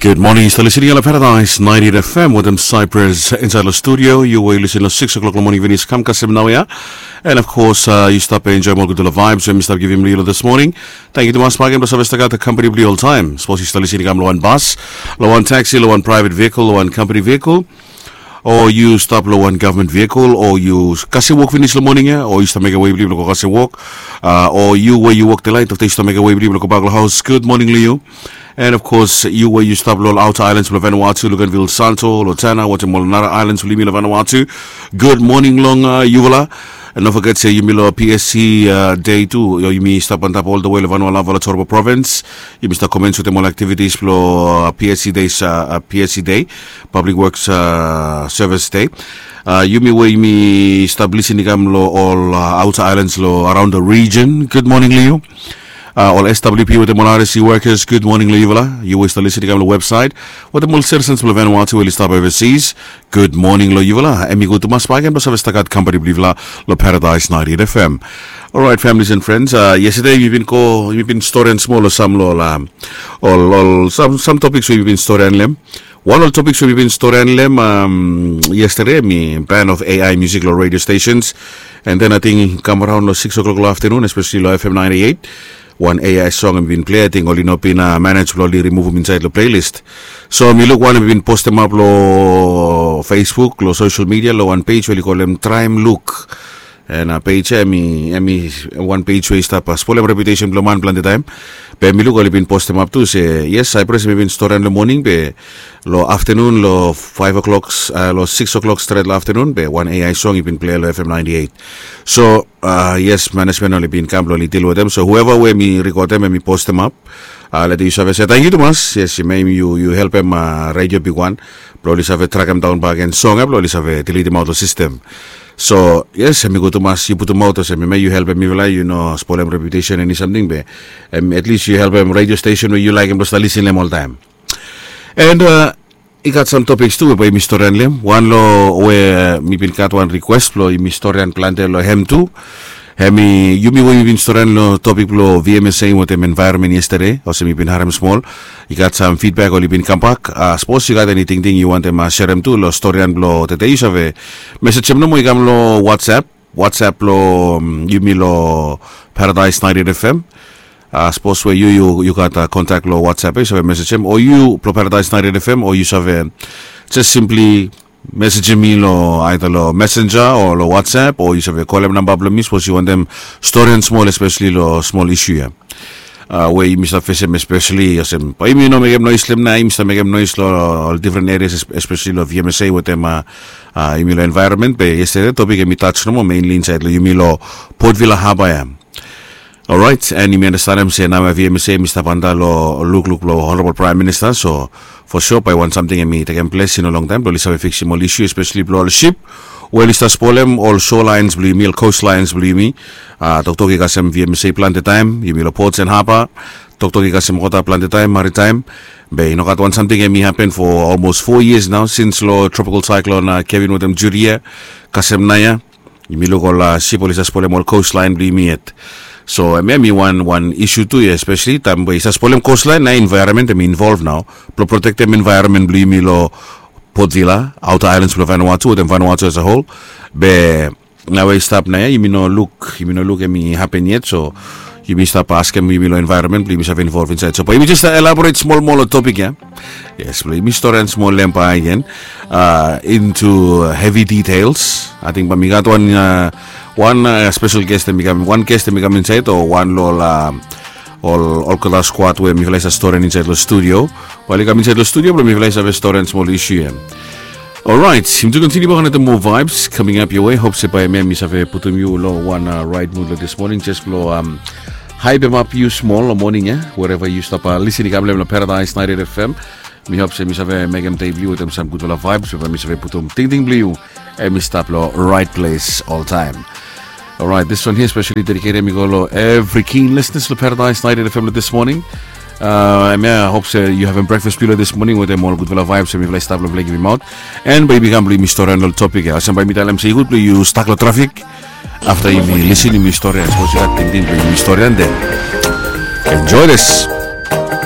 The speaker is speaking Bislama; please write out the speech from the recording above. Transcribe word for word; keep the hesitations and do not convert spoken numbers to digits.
Gud moning, yu stap lisin long Paradise ninety-eight F M wetem Cyprus insaed long studio. Yu we yu lisin long six o'clock long moning, finis kam kasem naoia. And of course, uh, yu stap enjoem ol gudfala vibes we mi stap givim long yu long this morning. Tangkiu tumas bak gen blong save stap gat kompani blong yu oltaem. Sapos yu stap lisin i kam long wan bas, long wan taxi, long wan private vehicle, long wan company vehicle, o yu stap long wan gavman vehicle, o yu kasem wok finis long moning ya, o yu stap mekem wei blong yu blong go kasem wok, uh, o yu we yu wok delaet, afta yu stap mekem wei blong yu blong go bak long haos, gud moning long yu. And of course, yu we yu stap long ol outer islands blong Vanuatu, Luganville, Santo, Lotana, wetem ol nara islands blong yumi long Vanuatu, gud moning long, uh, yufala. And no foget se yumi long P S C, uh, day tu, yumi stap antap ol the way long Vanualava long Toropo Province. Yumi stap commence wetem ol activities blong, uh, P S C days, uh, uh, P S C day, Public Works, uh, Service Day. Uh, yumi we yumi stap lisin i kam long ol, uh, outer islands long around the region, gud moning long yu. Uh, ol S W P wetem ol R S C workers, gud moning long yufala. Yu we stap lisin i kam long website, wetem ol citizens blong Vanuatu we oli stap overseas, gud moning long yufala. Hemi gud tumas bak gen blong save stap gat kompani blong yufala long Paradise ninety-eight F M. Alright, families and friends, uh, yesterday mi bin go, mi bin storian smol long sam long ol, um, ol, ol, sam, sam topiks we mi bin storian long hem. Wan ol topiks we mi bin storian long hem, um, yesterday, hemi ban of A I music long radio stations. And then ating kam araon long six o'clock long aftenun, especially long F M ninety-eight, wan A I song hemi bin plei, ating oli no bin, uh, manage blong oli rimuvum insaed long playlist. So mi luk wan hemi bin postemap long Facebook, long social media, long wan page we oli kolem Traem Luk. And, uh, page ya hemi, hemi wan page we i stap, uh, spolem reputation blong man plante taem. Be mi luk oli bin postemap tu se, yes, Cyprus, hemi bin storian long moning, be long aftenun, long five o'clock, uh, long six o'clock stret long aftenun, be wan A I song i bin plei long F M ninety-eight. So, uh, yes, management oli bin kam blong oli deal wetem. So whoever we mi rekodem, hemi postemap, uh, lete yu save se tangkiu tumas. Yes, hemia yu, yu helpem, uh, radio bigwan blong oli save trakem daon bak gen song ya blong oli save deletem aot long sistem. So yes, hemi gud tumas yu putumaot olsem, hemia yu helpem mifala, yu no spolem reputation eni samting, be, em, at least yu helpem radio station we yu laekem blong stap lisin long hem oltaem. And, uh, i gat sam topiks tu we bae yumi storian long hem. Wan long we, uh, mi bin gat wan request blong yumi storian plante long hem tu. Hemi, yumi we yumi bin storian long topik blong V M S A wetem environment yesterday, olsem mi bin harem smol, i gat sam feedback oli bin kambak. Uh, sapos yu gat eni tingting yu wantem, uh, serem tu long storian blong tede, yu save mesejem nomo, i kam long WhatsApp, WhatsApp blong, um, yumi long Paradise ninety-eight F M. Uh, sapos we yu, yu, yu gat, uh, kontak long WhatsApp, eh, yu save mesejem, o yu blong Paradise ninety-eight F M, o yu save just simply mesejem mi long, either long Messenger o long WhatsApp, o yu save kolem namba blong mi sapos yu wantem storian smol, especially long smol isu ya, uh, we yumi stap fesem, especially olsem bae yumi no mekem noes long hem nao, yumi stap mekem noes long ol different areas, es-, especially long V M S A wetem, uh, uh, yumi long environment. Be yesterday topik hemi touch nomo mainly insaed long yumi long Port Vila Harbour ya. Alright, and yumi andastanem se nao V M S A hemi stap anda long lukluk blong Honorable Prime Minister, so for sure bae wan samting hemi tekem ples i no longtaem blong oli save fiksim ol isu, especially blong ol sip we oli stap spolem ol shorelines blong yumi, ol coastlines blong yumi. Uh, toktok i kasem V M S A plante taem, yumi long Ports and Harbour, toktok i kasem wota plante taem, maritime. Be i no gat wan samting hemi hapen for almost four years nao, since long Tropical Cyclone, uh, Kevin wetem Judy ya kasem naoia. Yumi luk ol, uh, sip oli stap spolem ol coastline blong yumi yet. So hemia hemi wan, wan isu tu ya, especially taem we i stap spolem coastline, nao environment hemi involve nao blong protektem environment blong yumi long Port Vila, outer islands blong Vanuatu, wetem Vanuatu as a whole. Be nao we i stap naoia, yumi no luk, yumi no luk hemi hapen yet, so yumi stap askem yumi long environment blong yumi save involve insaed. So bae yumi just, uh, elaborate smol moa long topik ya. Yes, blong yumi storian smol long hem bak gen, uh, into heavy details. Ating bae mi gat wan, uh, wan, uh, special guest hemi kam, wan guest hemi kam insaed, o wan long ol, uh, ol, ol olgeta squad we mifala i stap storian insaed long studio, bae oli kam insaed long studio blong mifala i save storian smol isu ya. Alright, yumi tu kontiniu bak wetem moa vibes coming up your way. Hope se bae hemia hemi save putum yu long wan, uh, right mood long this morning, just blong, um, haepemap yu smol long moning ya, wherever yu stap, uh, lisin i kam long hem long Paradise ninety-eight F M. Mi hope se mi save mekem dei blong yu wetem sam gudfala vibes, we bae mi save putum tingting blong yu hemi stap long right place oltaem. Alright, this one here specially dedicated mi go long every keen listeners long Paradise ninety-eight F M long this morning. Uh, hemia, I hope se yu havem breakfast blong yu long this morning wetem ol gudfala vibes we mifala i stap long blong givim aot. And bae yumi kam blong yumi storian long topik ya. Olsem bae mi talem se i gud blong yu stak long trafik. Afta yumi lisin, yumi storian, sapos yu gat tingting blong yumi storian, then enjoy this.